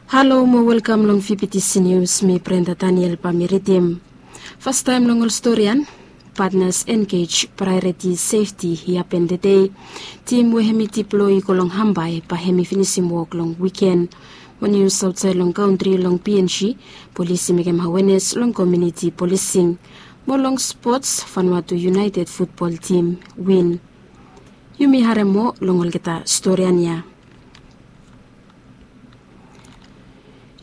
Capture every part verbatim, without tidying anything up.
Halo mo welkam long V P T C News, mi Brenda Daniel bae mi ridim. Fastaem long ol storian, Partners Engage Priority Safety i hapen tede. Tim we hemi diploi i go long Hambae bae hemi finisim wok long wiken. Mo nius aotsaed long kantri, long P N G, polis i mekem awenes long komuniti polising. Mo long spots, Vanuatu United futbol tim win. Yumi harem moa long olgeta storian ya.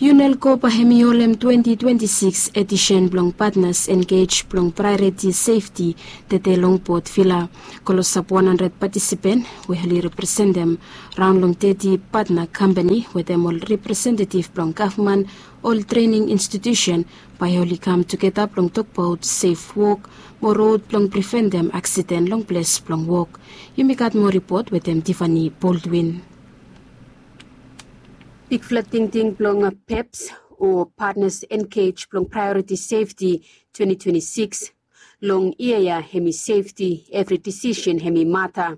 UNELCO bae hemi holem twenti twenti sikis edisen blong Partners Engage blong Priority Safety tede long Port Vila. Klosap wan handred patisipen we oli representem raon long teti patna kampani wetem ol representetif blong gavman, ol trening institiusen, bae oli kam tugeta blong tokbaot sef wok mo rod blong priventem aksiden long ples blong wok. Yumi gat moa ripot wetem Tiffany Baldwin. Bigfala tingting blong PEPS o Partners Engage blong Priority Safety twenti twenti sikis. Long yia ya hemi sefti, evri disisen hemi mata.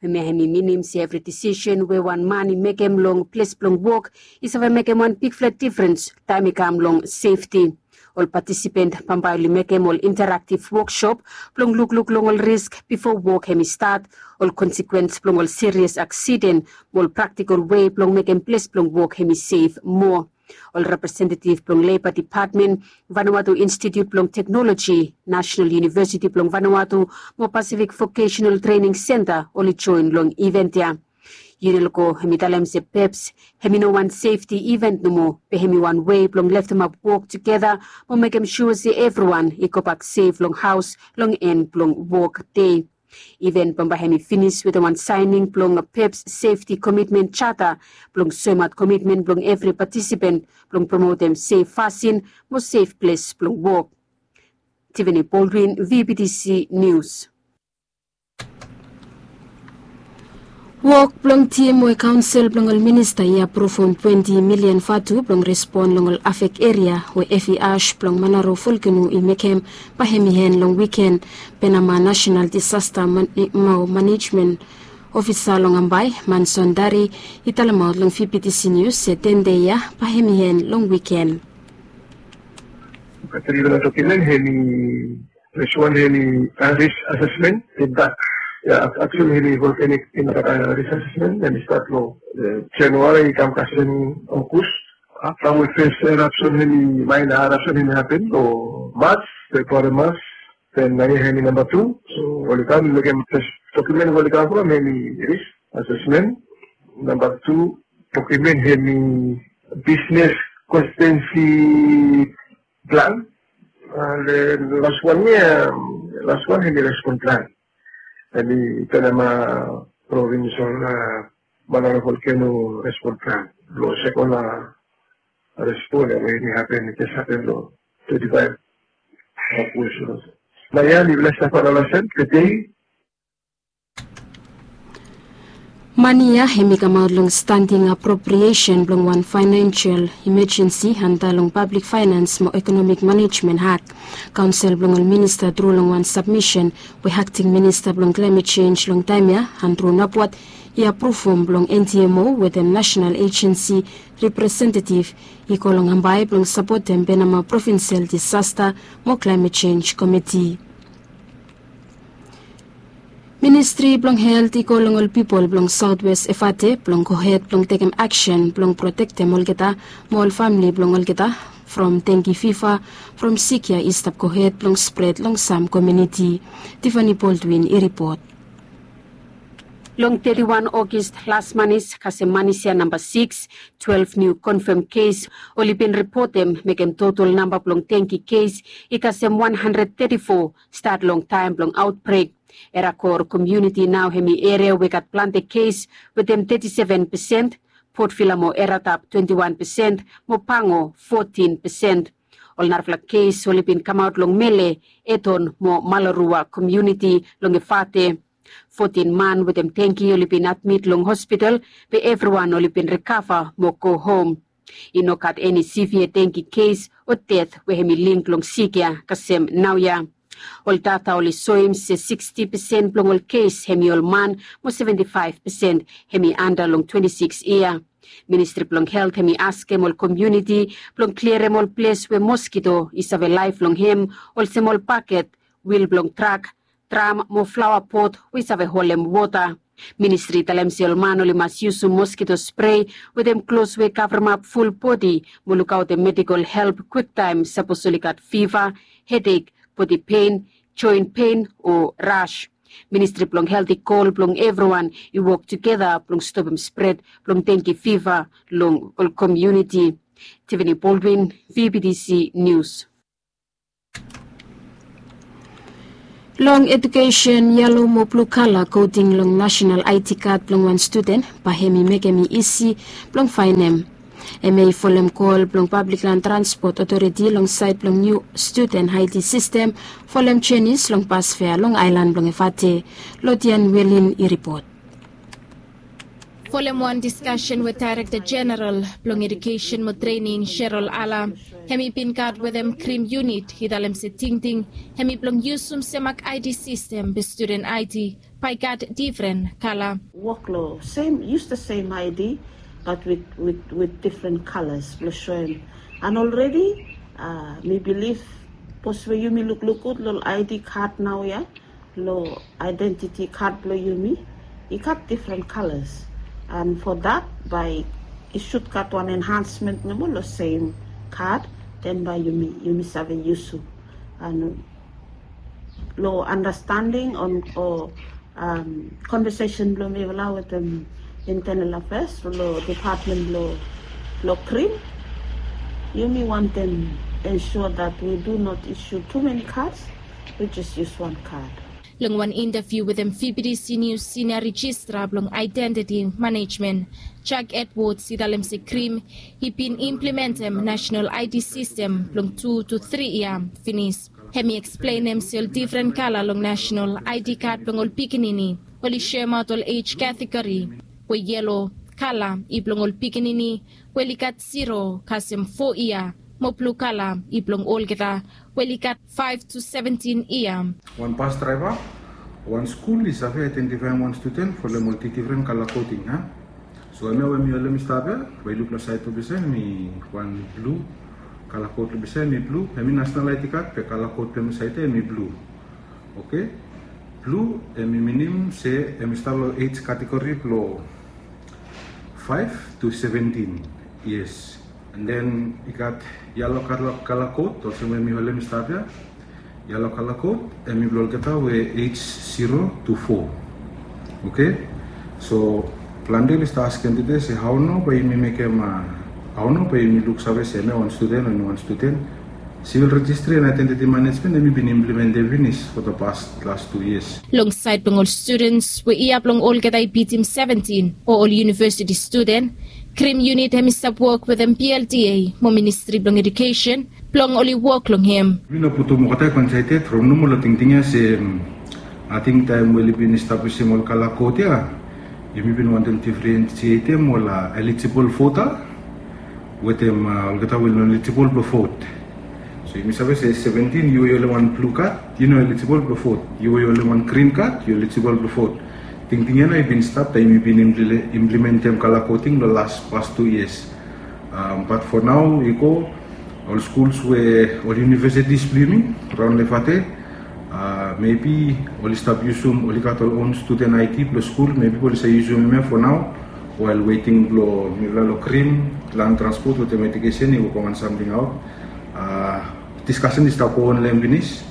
Hemia hemi minim se evri disisen we wan man i mekem long ples blong wok i save mekem wan bigfala difrens taem i kam long sefti. Ol patisipen bambae oli mekem ol interaktif woksop blong lukluk long ol risk bifo wok hemi stat, ol konsekwens blong ol sirias aksiden, mo ol praktikol wei blong mekem ples blong wok hemi sef moa. Ol representetif blong Leba Depatmen, Vanuatu Institiut blong Teknoloji, Nasenal Univesiti blong Vanuatu mo Pasifik Vokesenal Trening Senta oli joen long iven ya. UNELCO hemi talem se PEPS hemi no wan sefti iven nomo, be hemi wan wei blong leftemap wok tugeta mo mekem sua se evriwan i gobak sef long haos long en blong wok dei. Iven bambae hemi finis wetem wan saening blong PEPS Sefti Komitmen Jata blong soemaot komitmen blong evri patisipen blong promotem sef fasin mo sef ples blong wok. Tiffany Baldwin, V P T C News. Wok blong tim we kaonsel blong ol minista i apruvum twenti milian vatu blong respon long ol afek eria we evi as blong Manaro volkeno i mekem bae hemi en long wiken. Penama Nasenal Disasta Man-, mo Manejmen Ofisa long Ambae, Manson Dari, i talemaot long V P T C Nius se ten dei ya bae hemi en long wiken. Three document hemi First one hemi risk assessment, feedback. Ya, actually hemi volcanic impact, uh, risk assessment hemi stat long, uh, January i kam kasem August. Afta we fes eruption hemi, minor eruption hemi hapen long March, February, March. Then naoia hemi namba tu. So oli kam mekem fes document we oli kam from hemi risk assessment. Namba tu document hemi business constituency plan. And, uh, las wan ya, las wan hemi respon plan. Hemi Penama provincial, uh, Manaro volcano respon plan. Long sekon, uh, respon ya we hemi hapen, i jes hapen long twenty-five August. Naoia mifala stap analaesem tede. Mani ya hemi kamaot long standing appropriation blong wan financial emergency anda long Public Finance mo Economic Management Act. Kaonsel blong ol minista tru long wan submission we acting minista blong climate change long taem ya, Andrew Nabwat, i apruvum blong N D M O wetem national agency representative i go long Ambae blong sapotem Penama Provincial Disaster mo Climate Change Committee. Ministri blong Helt i go long ol pipol blong South West Efate blong gohed blong tekem aksen blong protektem olgeta mo ol famle blong olgeta from dengue fever, from sik ya i stap gohed blong spred long sam komuniti. Tiffany Baldwin i ripot. Long teti wan August, las manis kasem manis ya namba sikis, twelef niu konfam kes oli bin ripotem, mekem total namba blong dengue kes i kasem wan handred teti fo, stat long taem blong aotbrek. Erakor komuniti nao hemi eria we gat plante kes wetem teti seven pesen, Port Vila mo Eratap twenti wan pesen, mo Pango fotin pesen. Ol narafala kes oli bin kamaot long Mele, Eton mo Malarua komuniti long Efate. Fotin man wetem dengue oli bin admit long hospital, be evriwan oli bin rikava mo go hom. I no gat eni severe dengue kes o ded we hemi link long sik ya kasem naoia. Ol data oli soem se siksti pesen blong ol kes hemi ol man, mo seventi faef pesen hemi anda long twenti sikis yia. Ministri blong helt hemi askem ol komuniti blong kliarem ol ples we moskito i save laef long hem, olsem ol baket, wil blong trak, dram mo flaoa pot we i save holem wota. Ministri i talem se ol man oli mas yusum moskito sprei wetem klos we kavremap ful bodi mo lukaotem medikol help kwiktaem sapos oli gat fiva, hedek, bodi pen, joen pen o ras. Ministri blong helt i kol blong evriwan i wok tugeta blong stopem spred blong dengi fiva long ol komuniti. Tiffany Baldwin, V B T C News. Long edukesen, yelo mo blu kala koting long nasenal I D kad blong wan studen bae hemi mekem i isi blong faenem. Hemia i folem kol blong Pablik Lan Transpot Otoriti long saed blong niu studen I D sistem folem jenis long bas fea long aelan blong Efate. Lodian Welin i ripot. Folem wan diskasen we Daerekta Jeneral blong Edukesen mo Trening, Cheryl Ala, hemi bin gat wetem Krim Yunit, i talem se tingting hemi blong yusum semak I D sistem be studen I D bae i gat difren kala. Wok long sem, yus the same I D, but with, with, with different colors blong soem. And already, uh, mi bilif, sapos we yumi lukluk gud long I D kad naoia, long identity kad blong yumi, i gat different colors. And for that, bae i sud gat wan enhancement nomo long sem kad, then bae yumi, yumi save yusum. And long understanding on, o, um, conversation blong mifala wetem Internal Affairs long department blong, blong Krim, yumi wantem ensure that we do not issue too many cards, we just use one card. Long wan intaviu wetem V B T C News, Senior Registrar blong Identity Management, Jack Edwards, i talem se Krim i bin implementem nasenal I D sistem blong tu tu tri yia finis. Hemi eksplenem se ol difren kala long nasenal I D kad blong ol pikinini oli soemaot ol ej kategori, we yelo kala i blong ol pikinini we oli gat zero kasem fo yia, mo blu kala i blong olgeta we oli gat faef tu seventin yia. Wan bas draeva, wan skul i save aedentifaem wan studen folem ol difren kala koting, a? So hemia we mi holem i stap ia, we i luk long saed tu olsem hemi wan blu, kala kot long olsem hemi blu, hemi nasenal I D kad be kala kot blong hemi saed ia hemi blu. Oke. Blu hemi minim se hemi stap long ej kategori blong faef tu seventin. Yes. And then i gat yelo kala, kala kot, olsem we mi holem i stap ia. Yelo kala kot hemi blong olgeta we ej zero tu fo. Oke. So plante oli stap askem tede se hao nao bae yumi mekem, a, hao nao bae yumi luksave se hemia wan studen o hemi wan studen. Civil Registry and Identity Management hemi bin implementem finis for the past last two years. Long saed blong ol studens we yia blong olgeta i bitim seventin o ol univesiti studen, Krim Yunit hemi stap wok wetem P L D A mo Ministri blong Edukesen blong oli wok long hem. Mi no putum olgeta i go insaed ia, from nomo long tingting ia se, mm, ating taem we oli bin establisim ol kala kot ia, yumi bin wantem difrensietem ol, a, eligible vota wetem, a, olgeta we i no eligible blong vot. So yumi save se seventin, yu we yu holem wan blu kad, yu no eligible blong vot. Yu we yu holem wan grin kad, yu eligible blong vot. Tingting ia nao i bin stap taem yumi bin imple-, implementem kala koting long las past tu yias. Um, but for nao i go, ol skuls we, ol univesitis blong yumi raon long Efate, a, maybe oli stap yusum, oli gat ol own student I D blong skul, maybe oli save yusum hemia for nao, while waiting blong mifala long Krim, Land Transport wetem Edukesen i wokbaot wan samting aot. A, diskasen i stap go on long hem finis.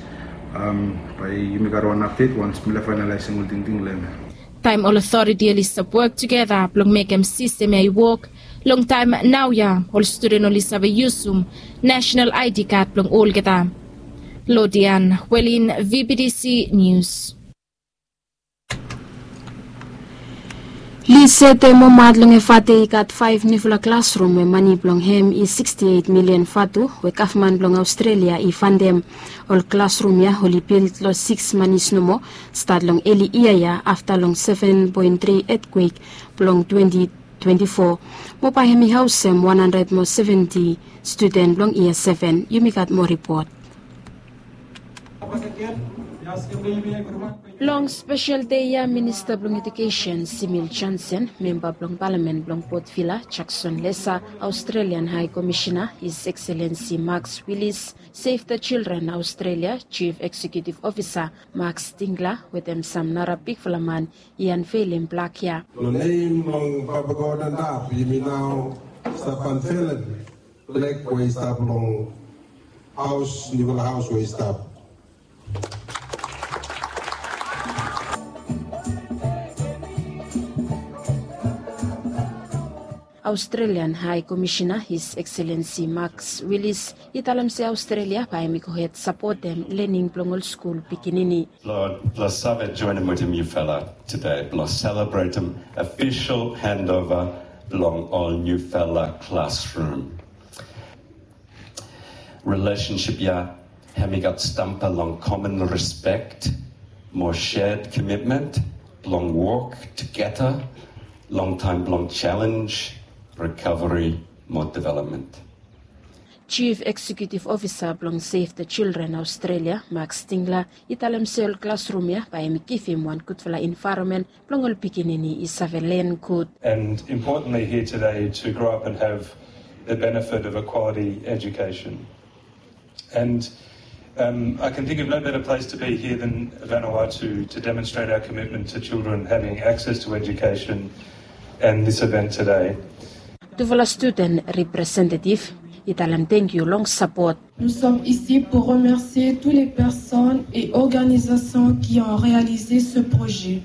Um, bae yumi gat wan apdet once mifala faenalaesem ol tingting long hem. Taem ol otoriti oli stap wok tugeta blong mekem sistem ia i wok, long taem naoia ol studen oli save yusum nasenal I D kad blong olgeta. Lodian Welin, V B T C News. Lisete mo Maat long Efate i gat faef niufala klasrum we mane blong hem i siksti eit milian vatu we gavman blong Aostrelia i fantem. Ol klasrum ia oli bild long siks manis nomo, stat long eli yia ia afta long seven point tri etkwek blong twenti twenti fo. Mo bae hemi haosem wan handred mo seventi studen blong yia seven. Yumi gat moa ripot. Long spesel dei ya, Minista blong Ejukesen Simil Johnson, memba blong palamen blong Port Vila Jackson Lesa, Australian Hai Komisena His Excellency Max Willis, Save the Children Australia Chief Executive Officer Max Tingler wetem sam nara bigfala man i anvelim blak ya. Long nem blong Papa God antap, yumi nao stap anvelim blak we i stap long haos, niufala haos we i stap. Australian Hai Komisena His Excellency Max Willis i talem se Australia bae hem i gohed sapotem lening blong ol skul pikinini. Blong save joenem wetem yufala tede blong selebretem ofisol hendova blong ol niufala klasrum. Rilesensip ya hem i gat stamba long komon rispek mo shed komitmen blong wok tugeta long taem blong jalenj, rikaveri mo developmen. Chief Executive Officer blong Save the Children Australia, Max Tingler, i talem se ol klasrum ya bae hem i givim wan gudfala envaeronmen blong ol pikinini i save len gud. And importantly here today to grow up and have the benefit of a quality education. And um, I can think of no better place to be here than Vanuatu to demonstrate our commitment to children having access to education and this event today. Tufala studen representetiv i talem tangkiu long sapot. Nous sommes ici pour remercier toutes les personnes et organisations qui ont réalisé ce projet.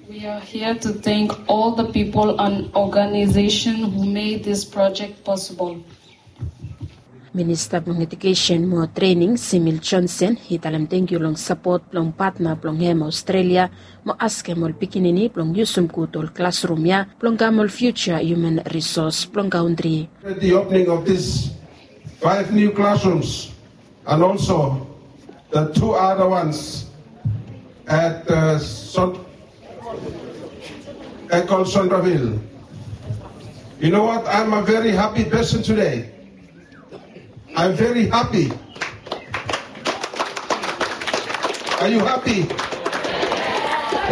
We are here to thank all the people and organization who made this project possible. Minista blong Ejukesen mo Trening Simil Johnson i talem tangkiu long sapot blong patna blong hem Australia mo askem ol pikinini blong yusum gud ol klasrum ya blong kam ol fiuja human risos blong kantri. At the opening of these five new classrooms and also the two other ones at uh, Son- at called Centreville. You know what? I'm a very happy person today. I'm very happy. Are you happy?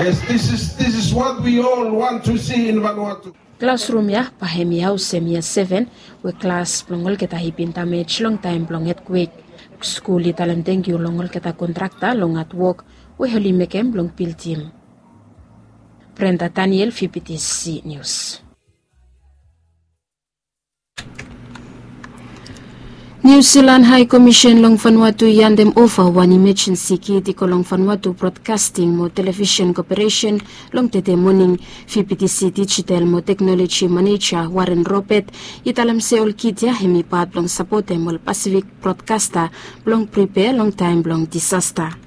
Yes, this is this is what we all want to see in Vanuatu. Klasrum ya bae hem i haosem yia seven we klas blong olgeta i bin damej long taem blong etkwek. Skul i talem tangkiu long olgeta kontrakta long hatwok we oli mekem blong bildim. Brenda Daniel, V P T C News. Niu Silan Hai Komisen long Vanuatu i handem ova wan imajensi kit i go long Vanuatu Brodkasting mo Televisen Koperesen long tede moning. V P T C Dijital mo Teknoloji Maneja Warren Robert i talem se ol kit ya hem i pat blong sapotem ol Pasifik brodkasta blong pripea long taem blong disasta.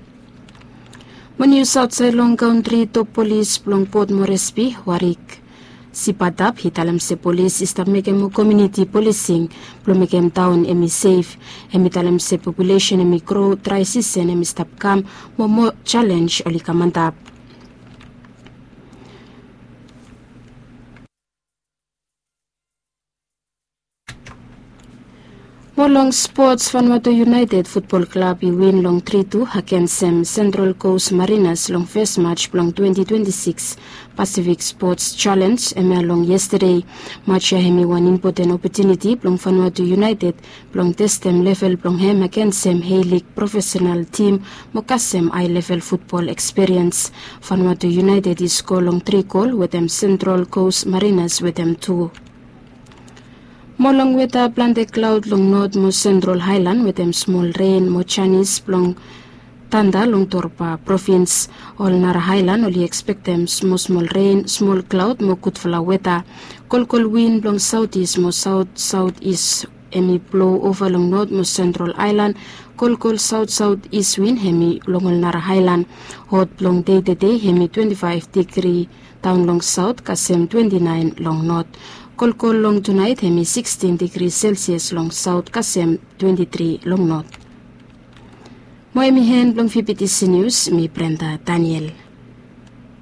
Mo nius aotsaed long kantri, top polis blong Port Moresby, Warwick Sipatap, i talem se polis i stap mekem moa komuniti polising blong mekem taon hem i sef. Hem i talem se populesen hem i gro, drae sisen hem i stap kam, mo moa jalenj oli kam antap. Mo long spots, Vanuatu United Futbol Klab i win long tri tu agensem Central Coast Mariners long fes maj blong twenti twenti sikis Pasifik Spots Jalenj, hemia long yestede. Maj ya hem i wan impoten opotuniti blong Vanuatu United blong testem level blong hem agensem Heilig profesenal tim mo kasem hae level futbol ekspiriens. Vanuatu United i sko long tri gol wetem Central Coast Mariners wetem tu. Mo long weta, plante klaod long not mo sentral haelan wetem smol ren mo janis blong tanda long Torba provins. Ol nara haelan oli ekspektem smosmol ren, smol klaod mo gudfala weta. Kolkol win blong saotis mo saotsaotis hem i blo ova long not mo sentral haelan. Kolkol saotsaotis win hem i long ol nara haelan. Hot blong dei tedei hem i twenti faef digri daon long saot kasem twenti naen long not. Kolkol long tunaet hem i sikstin digri Selsias long saot kasem twenti tri long not. Mo hem i en blong V P T C Nius, mi Brenda Daniel.